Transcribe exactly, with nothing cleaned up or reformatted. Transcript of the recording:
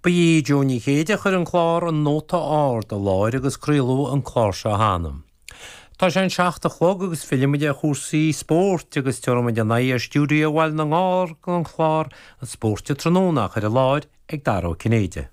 Ba í Jo Ní Chéide a chuir an clár an Nóta Ard i láthair agus craoladh an clár seo cheana. Tá sé an seacht a chlog agus fillfimid ar chúrsaí spóirt agus tabharfaimid ár n-aghaidh ar stiúideo Bhaile na nGall don chlár an Spórt Tráthnóna á chur i láthair ag Dara Ó Cinnéide.